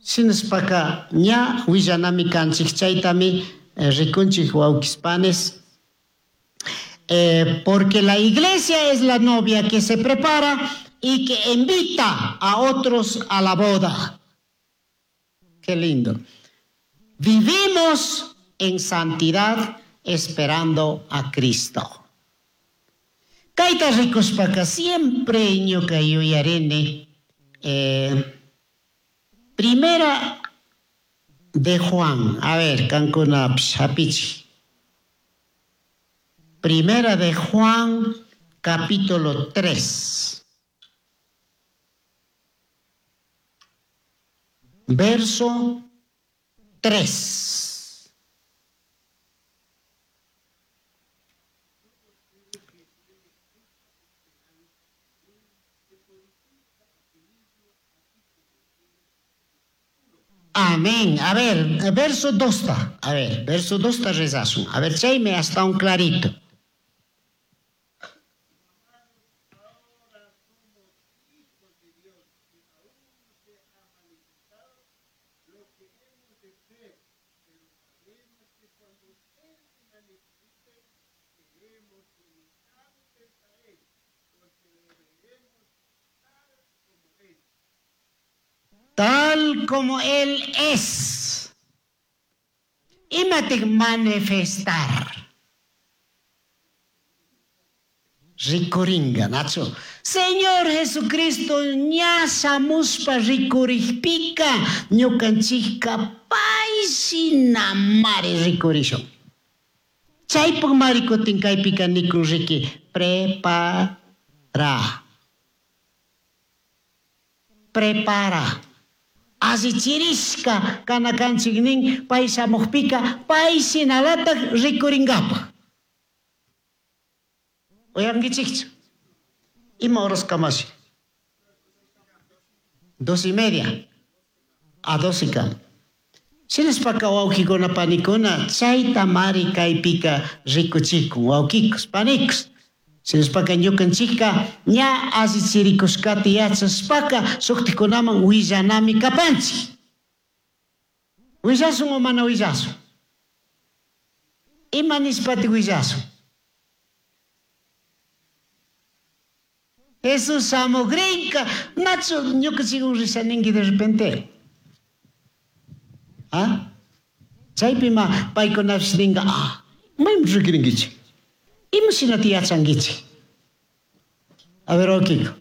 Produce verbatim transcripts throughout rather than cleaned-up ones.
Shinashpaka ña willanami kanchik chaytami eh, rikunchik wawkispanes. Eh, porque la iglesia es la novia que se prepara y que invita a otros a la boda. Qué lindo. Vivimos en santidad esperando a Cristo. Kayta rikushpaka siempre ñuka yuyarini eh, primera de Juan. A ver, kankunapish hapichik. Primera de Juan, capítulo tres. Verso tres. Amén. A ver, verso dos. A ver, verso dos ta rezasun. A ver, chaymi hasta un clarito. Tal como Él es. Imatik manifestar. Rikuringa, Nacho. Señor Jesucristo, ña shamushpa rikurikpika, ñukanchikka payshina mari rikurishun. Chaypuk mari kutin kaypika nikun riki, prepara. Prepara. Allichirishka kana kanchik nin pay shamukpika pay shinalatak rikuringapaj. Uyankichikchu? Ima horas kamashi? Dos y media. A dos y kam. Shinashpaka wawkikuna panikuna chayta mari kaypika rikuchikun wawkikus panikus. Shinashpaka ñukanchikka ña allichirikushkata yachashpaka shuktikunaman willanami kapanchik. Willasun o mana willasun? Ima nishpati willasun? Jesús shamugrinka, nachu ñukanchikwan risha ninki de repente. ¿Ah? Chaypima paykunapish ninka, ah, maymi rikirinkichik? Ima shinata yachankichik? A ver, Okiko.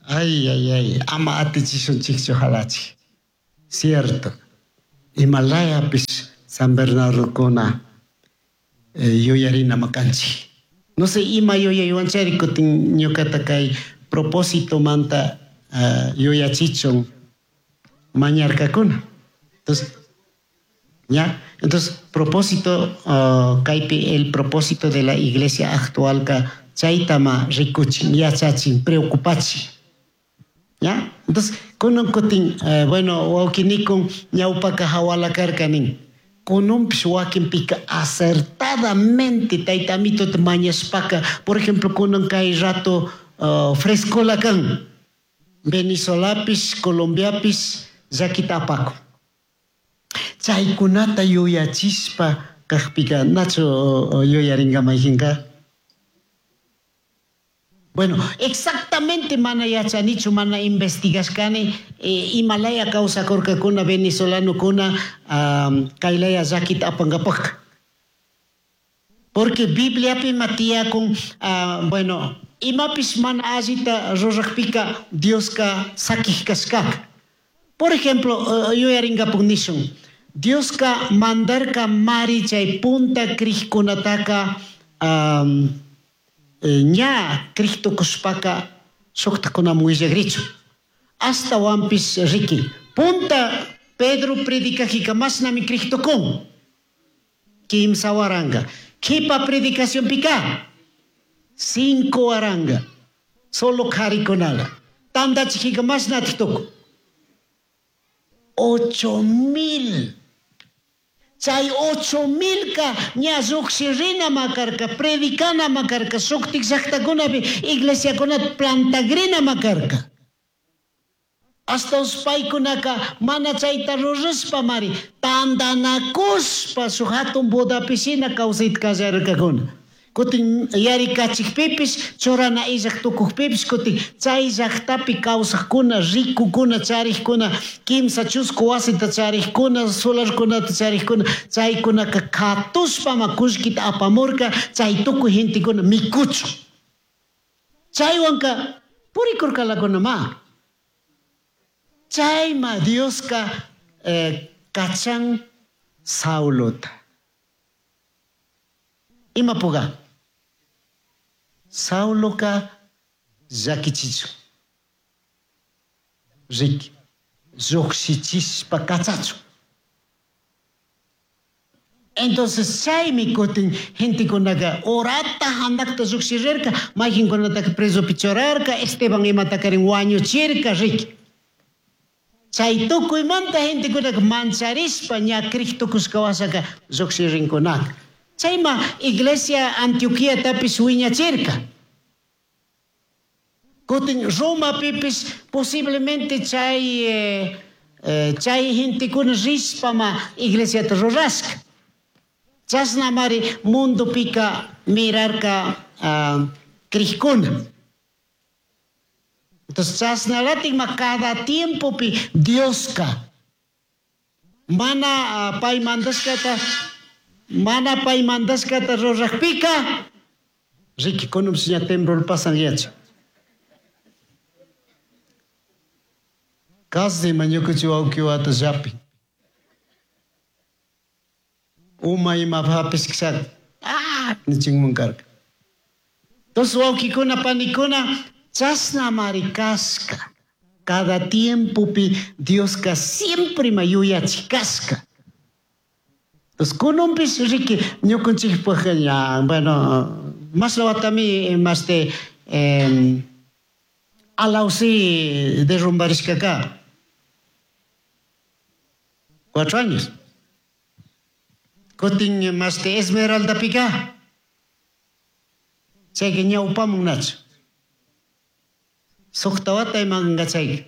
Ay, ay, ay, ama atichishunchikchu halachik. Cierto. Himalayapis San Bernardokuna yuyarinami kanchik. No sé, ima yuyaywanchari kutin ñukata kay propósitomanta yuyachichun mañarkakuna. Entonces, ya, entonces propósito uh, kaypi el propósito de la iglesia actualka chaytama rikuchin, yachachin, preocupachin. ¿Ya? Entonces, kunan kutin, uh, bueno, wawkinikun ñawpaka hawala karka nin. Kununpish wakinpika acertadamente tayta Amitota mañashpaka, por ejemplo, kunan kay rato uh, frescola kan. Venezuelapish, Colombiapish llakita apakun. Chaykunata yuyachishpa kajpika nachu yuyarinka mayjinka? Bueno, exactamente mana yachanichu, mana investigashkani eh, imalaya kawsakurkakuna venezolanokuna um, kaylaya llakita apankapakka. Porque Bibliapi ima tiyakun, uh, bueno, imapish mana allita rurakpika Dioska sakij kashkaka. Por ejemplo, uh, yuyarinkapak nishun, Dioska mandarka mari chay punta crijkunataka um, ña crij tukushpaka shuktakunaman willagrichu. Ashtawanpish riki, punta Pedro predicajika mashnami crij tukun, kimsa waranka. Kipa predicacionpika cinco waranka, solo karikunala. Tandachijika mashnatik tukun, ocho mil. Chay ocho milka ña llujshirinama karka, predicanama karka, shuktik llaktakunapi iglesiakunata plantagrinama karka. Hasta paykunaka mana chayta rurashpa mari tandanakushpa shuk hatun bodapishina kawsayta kallarkakuna. Kutin yarikachikpipish, churana illak tukukpipish, kutin chay llaktapi kawsakuna, ricukuna, charikkuna, kimsa chusku wasita charikkuna, solarkunata charikkuna, chaykunaka katushpama kullkita apamurka, chay tukuy gentekuna mikuchun. Chaywanka purikurkalakunama. Chayma Dioska eh, kachan Saulota. Imapuga? Sauloka llakichichun. Riki, llujshichishpa kachachun. Entonces chaymi kutin gentekunaka orata handakta llujshirirka, mayqinkunataka presopi churarka, Esteban imatakarin wañuchirka, riki. Chay tukuymanta gentekunaka mancharishpa ña crij tukushka washaka llujshirinkunaka. Chayma iglesia Antioquiatapish wiñachirka. Kutin Romapipish posiblemente chay, eh, eh, chay gentekuna rishpama iglesiata rurashka. Chashnamari mundopika mirarka uh, crijkuna. Entonces chashnalatikma cada tiempopi Dioska mana uh, pay mandashkata mana pay mandashkata rurakpika riki kununpish ña temblor pasan yacha. Casi ñukanchik wawqiwata llapin. Uma imapapis kishaka ah nichinman karka. Entonces wawqikuna panikuna chashnamari kashka. Cada tiempopi Dioska siempre ma yuyachik kashka. Entonces kununpish riki ñukanchikpaj ña bueno mashna watami mashte eh, alawsi derrumbarishkaka. Cuatro años. Kutin mashte Esmeraldapika. Chayka ñawpamun nachu. Suqta wata imanka chayka.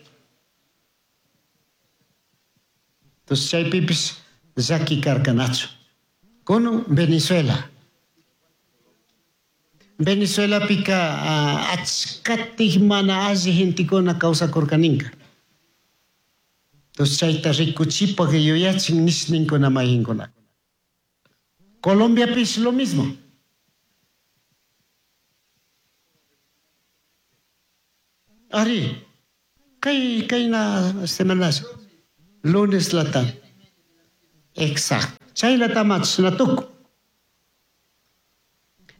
Entonces chaypipish llaki karka nachu. Kunun Venezuela. Venezuelapika uh, achkatik mana alli gentekuna kawsakurkaninka. Entonces chayta rikuchipak yuyachin nishninkuna mayqinkuna. Colombiapish lo mismo. Ari, kay kayna semanas, lunes lata. Exacto. Chaylatama chashna tukun.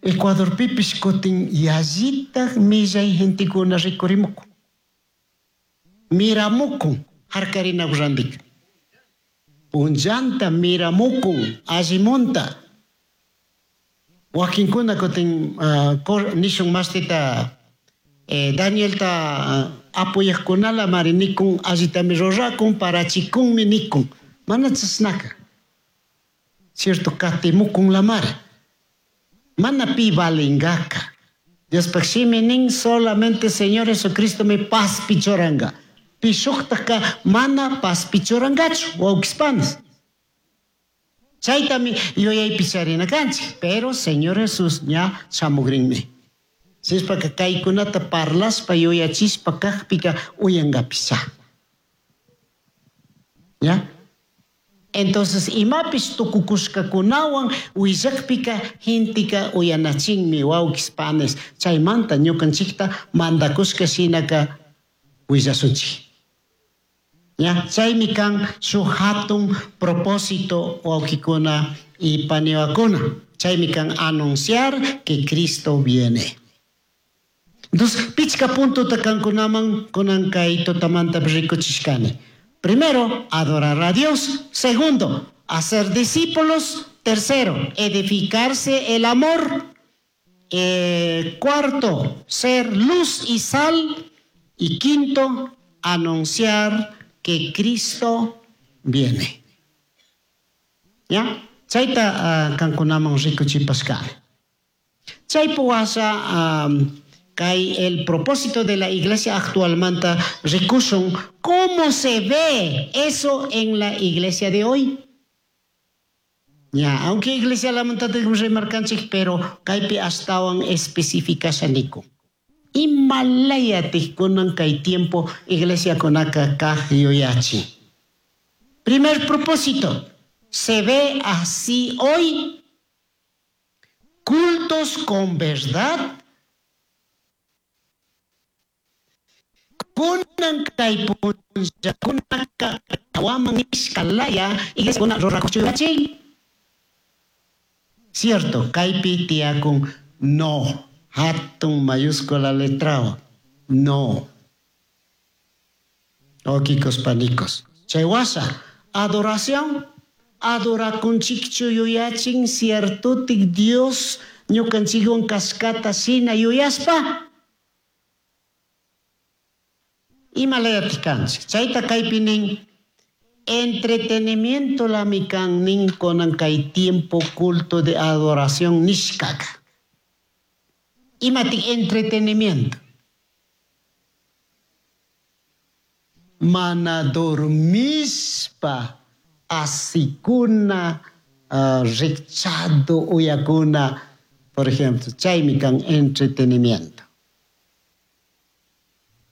Ecuadorpipish kutin yallitaj millay gentekuna rikurimukun. Miramukun harkarina randika. Punllanta miramukun allimunta. Wakinkuna kutin uh, nishun mastita eh, Danielta uh, apoyaqkunala mari nikun allitami rurakun parachikunmi nikun. Mana chashnaka. Cierto katimukun la mari. Mana pi valingaka. Diospaj shimi nin solamente Señor Jesucristo mi paspichuranga. Pi shujtajka mana paspichurangachu, wawqispanas. Chaytami yuyaypi charina kanchik, pero Señor Jesús ña shamugrinmi. Sishpaka kaykunata parlaspa yuyachispa kajpika uyangapisha. ¿Ya? Entonces, imapish tukukushkakunawan willakpika gentika uyanachinmi wawqispanes. Chaymanta ñukanchikta mandakushka shinaka willasunchik. ¿Ya? Chaymi kan shuk hatun propósito wawqikuna y paniwakuna. Chaymi kan anunciar que Cristo viene. Entonces, pichka puntota kankunaman kunan kay tutamanta rikuchishkani. Primero, adorar a Dios. Segundo, hacer discípulos. Tercero, edificarse el amor. Eh, cuarto, ser luz y sal. Y quinto, anunciar que Cristo viene. ¿Ya? Chayta uh, kankunaman rikuchipashkani. Chaypi washa um, kay el propósito de la iglesia actualmente rikushun cómo se ve eso en la iglesia de hoy. Ya, aunque iglesia lamanta rimarkanchik, pero kaypi ashtawan especificashaniku. Imalayatik kunan kay tiempo iglesia kunaka kaj yuyachi. Primer propósito, se ve así hoy cultos con verdad. Kunan kay punllakunaka waman nishkalaya iglesia kuna rurakuchu. Cierto, kaypi tiyakun no. Hatun mayúscula letrao. No. Okikos panicos. Chaywasha, adoración. Adorakunchikchu yuyachin ciertotik Dios ñukanchikwan kashkata shina yuyaspa. Imalayatik kanchik. Chayta kaypi nin entretenimiento lamikan nin konan kay tiempo culto de adoración nishkaka. Imatik entretenimiento. Mana dormispa asikuna uh, rikchado uyakuna, por ejemplo, chaymi kan entretenimiento.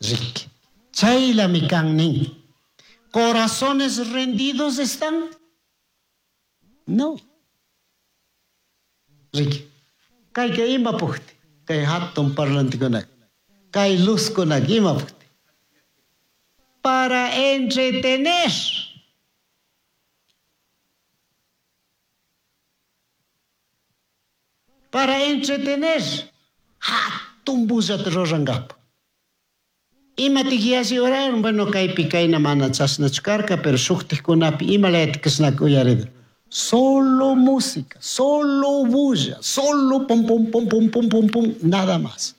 Rik. Chaylami kan nin. ¿Corazones rendidos están? No. Rik. Kayka ima pukti. Kay hatun parlantikunak. Kay luzkunak ima pukti. Para entretener. Para entretener. Hatun bullata rurangapa. Imatik yalli oraron, bueno, kaypi kayna mana chashnachu karka, pero shuktikkunapi imalayatik kashnaka uyarida. Solo música, solo bulla, solo pum pum pum pum pum pum pum, nada más.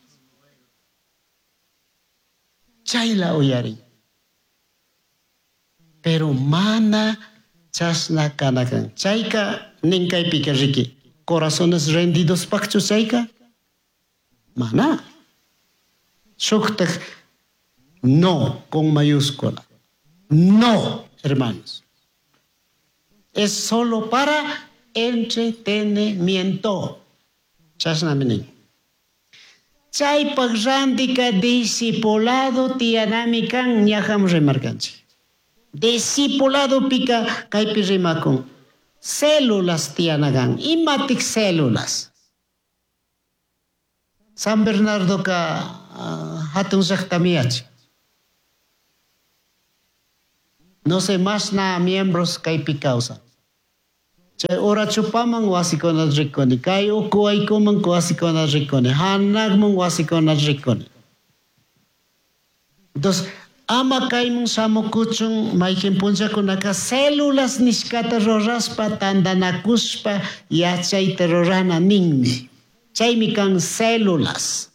Chayla uyarin. Pero mana chashna kanakan. Chayka nin kaypika riki. Corazones rendidos pakchu chayka? Mana. Shuktak no con mayúscula. No, hermanos. Es solo para entretenimiento. Chashnami. Chaypaj randika discipulado tiyanami kan ñajam rimarkanchik. Discipulado pika kaypi rimakun. Células tiyanakan. Imatik células. San Bernardo ka uh, hatun llaqtami yachan. No sé más nada miembros kaypi kawsan. Chay urachupaman wasikunata rikuni, kay ukuwaykuman wasikunata rikuni, hanakman wasikunata rikuni. Entonces, ama kayman shamukuchun mayqin punllakunaka células nishkata rurashpa tantanakushpa yachayta rurana ninmi. Chaymi kan células.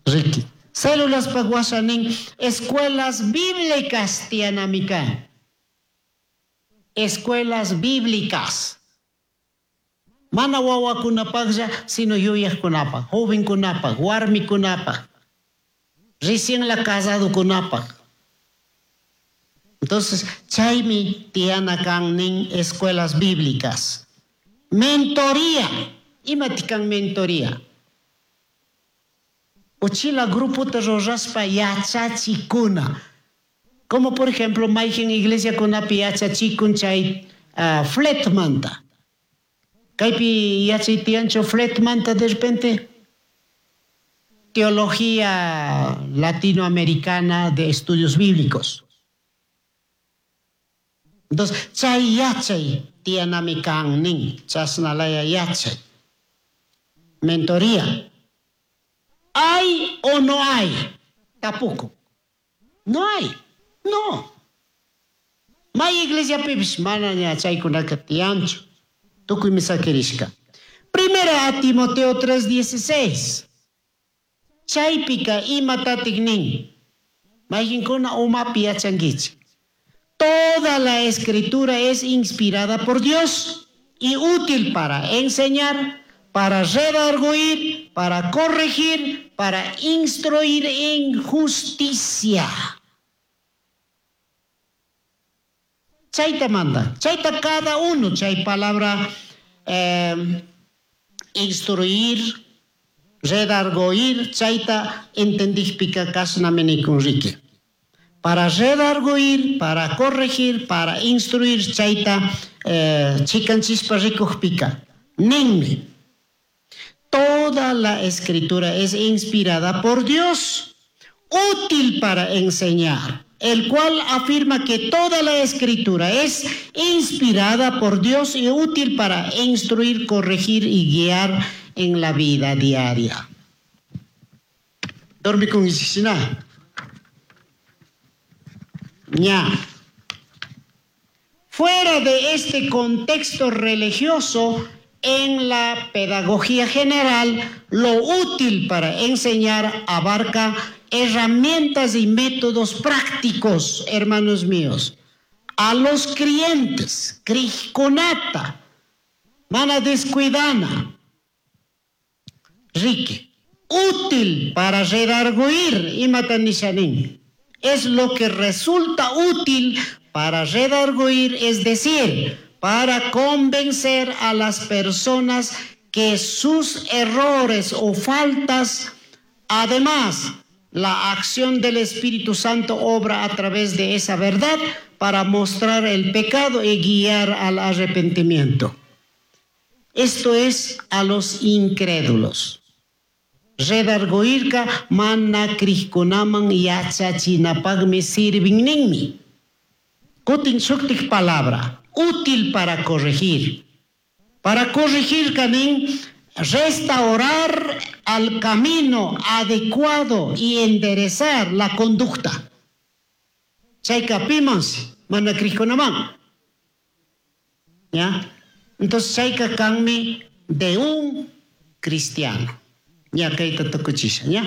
Riki. Células washa nin escuelas bíblicas tiyanami kan. Escuelas bíblicas. Mana wawakunapaqlla, sino yuyaqkunapaq, jovenkunapaq, warmikunapaq, recién la casadokunapaq. Entonces, chaymi tiyana kan nin escuelas bíblicas. Mentoría. Imatik kan mentoría? Uchila grupota rurashpa yachachikuna. Como por ejemplo, mayqin iglesiakunapi yachachikun chay uh, fletmanta. Kaypi yachay tiyanchu fletmanta de repente. Teología latinoamericana de estudios bíblicos. Entonces, chay yachay tiyanami kan nin, chasnalaya yachay. Mentoría. ¿Hay o no hay? Tampoco. No hay. No. May iglesiapipish mana ña chaykunaka tiyanchu. Tukuymi sakirishka. Primera a Timoteo tres dieciséis. Chaypika imatatik nin. Mayqinkuna umapi yachankichik. Toda la escritura es inspirada por Dios y útil para enseñar, para redarguir, para corregir, para instruir en justicia. Chayta manda, chayta cada uno, chay palabra eh, instruir, redarguir, chayta entendijpika kashnami nikun riki. Para redarguir, para corregir, para instruir, chayta eh, chikanchispa rikujpika. Ninmi. Toda la escritura es inspirada por Dios, útil para enseñar, el cual afirma que toda la escritura es inspirada por Dios y útil para instruir, corregir y guiar en la vida diaria. Dormi con isina. Ña. Fuera de este contexto religioso, en la pedagogía general, lo útil para enseñar abarca herramientas y métodos prácticos, hermanos míos. A los creyentes, crijkunata, mana descuidana, rique, útil para redarguir, imata nishanin. Es lo que resulta útil para redarguir, es decir, para convencer a las personas que sus errores o faltas, además, la acción del Espíritu Santo obra a través de esa verdad para mostrar el pecado y guiar al arrepentimiento. Esto es a los incrédulos. Redarguirka mana crijkunaman yachachinapaqmi sirvin ninmi. Kutin shuktik palabra, útil para corregir. Para corregir, kanin, restaurar al camino adecuado y enderezar la conducta. Chayka pimansi, mana crijkunaman. ¿Ya? Entonces, chayka kanmi de un cristiano. Ya, kayta tukuchisha, ¿ya?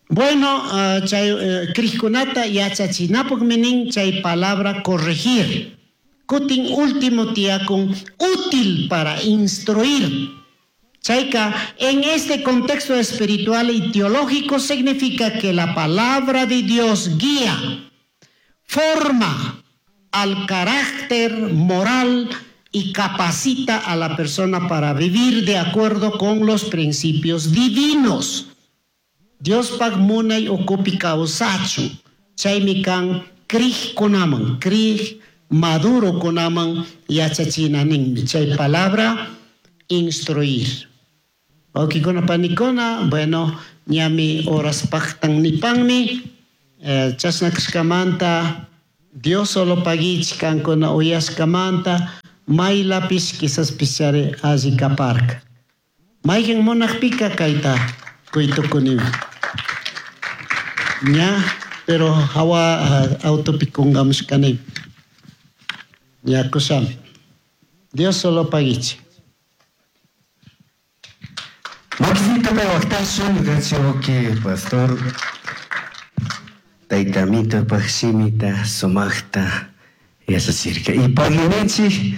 Bueno, uh, chay uh, crijkunata yachachinapaqmi nin chay palabra corregir. Kutin último tiyakun útil para instruir. Chayka, en este contexto espiritual y teológico significa que la palabra de Dios guía, forma al carácter moral y capacita a la persona para vivir de acuerdo con los principios divinos. Dios pag munay ukupi kawsachun. Chaymi kan crijkunaman, crij maduro kunaman yachachina ninmi. Chay palabra instruir. Wawqikuna panikuna, bueno, ñami horas paqtan nipanmi, eh, chashna kashkamanta Diosolo paguichik kankuna uyashkamanta maylapish quizás pichari alli kaparka. Mayqin munaqpika kayta kuytukunimi. Ña, pero hawa autopi kungamushkani. Ña kushami. Diosolo paguichik. Makisita pay waqtashun, gracias pastor. Tayta Amito shimita sumaqta yachachirka. Y paginichik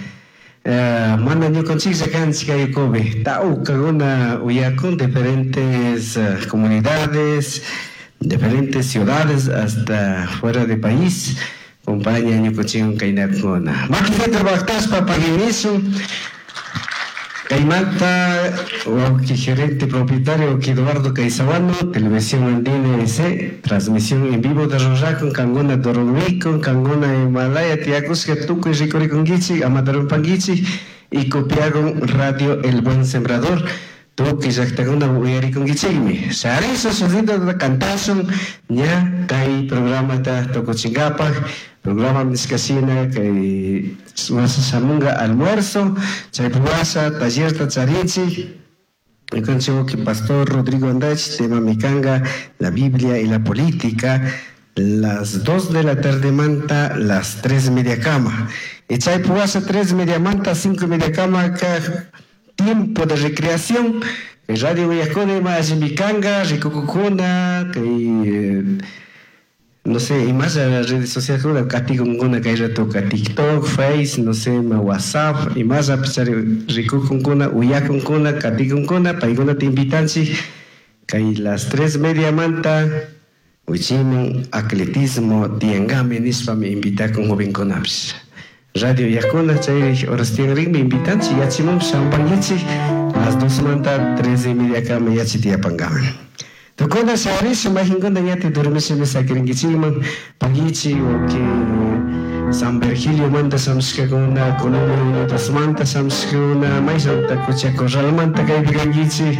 mana ñukanchiklla kanchik kaykupi tawkakuna uyakun diferentes comunidades, diferentes ciudades hasta fuera de país compañía ñukanchikwan kaynakuna. Makisita waqtashpa paginishun. Kaymanta wawqi gerente propietario Eduardo Caizabano, Televisión Andina S, transmisión en vivo de Ruracon, Kanguna Dorumicon, Kanguna Himalaya, Tiacuska, Tukuy rikurikunkichik, Amatarumpankichik, y copiaron Radio El Buen Sembrador, tukuy llaqtakuna uyarikunkichikmi. Shariso sonido cantasun, ña kay programata tukuchinkapaq, programa nishkashina kay wasa shamunga almuerzo, chaypi wasa tallerta charinchik. Ñukanchik pastor Rodrigo Andach, tema mikanga, la Biblia y la política, las dos de la tarde manta, las tres media cama. Y chaypi wasa tres media manta, cinco media cama, ka tiempo de recreación. El radio Uyakuna ima allimikanga, rikukukuna, kay no sé, y más a las redes sociales, katikunkuna kay rato ka TikTok, Face, no sé, ma WhatsApp, y más a pesar rikukunkuna, uyakunkuna, katikunkuna, paykuna te invitanchik, kay las tres media manta, wichimun atletismo tiangami nishpa mi invitakun jovenkunapish. Radio Yakuna, chay horas tianrinmi invitanchik, yachimun shampankichik, las dos manta, tres y media kama yachi tiyapankaman. Tukuna sharish mahinkuna ñati durmishimi sakirinkichikman, pagichi o que San Virgilio manta shamushkakuna, Colombia Unidos manta shamushkakuna, mayshamanta Cocha Corral manta kaypi kankichik,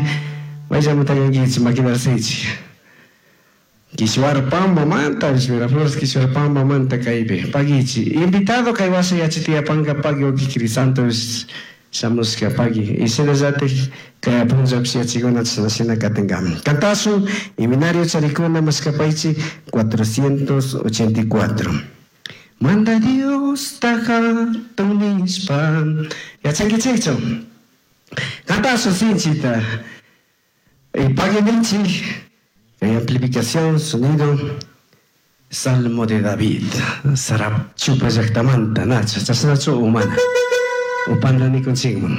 mayshamanta kankichik maquinarsichik. Kiswarpamba manta, Miraflores Kiswarpamba manta kaypi, pagichi. Invitado kay wasa yachitiyapanka pagi oki Crisanto shamushka pagi. Y shinallatik kay punllapish yachikuna chashnashina katinkaman. Cantasun, Iminario charikuna mashkapaychik cuatrocientos ochenta y cuatro. Manda Dios hatun nishpa. Yachankichikchu. Cantasun sinchita. Y paginichik. Kay amplificación, sonido. Salmo de David. Sarap chupa llaqtamanta, nacha, chashnachu umana. Upanda nikunchikman.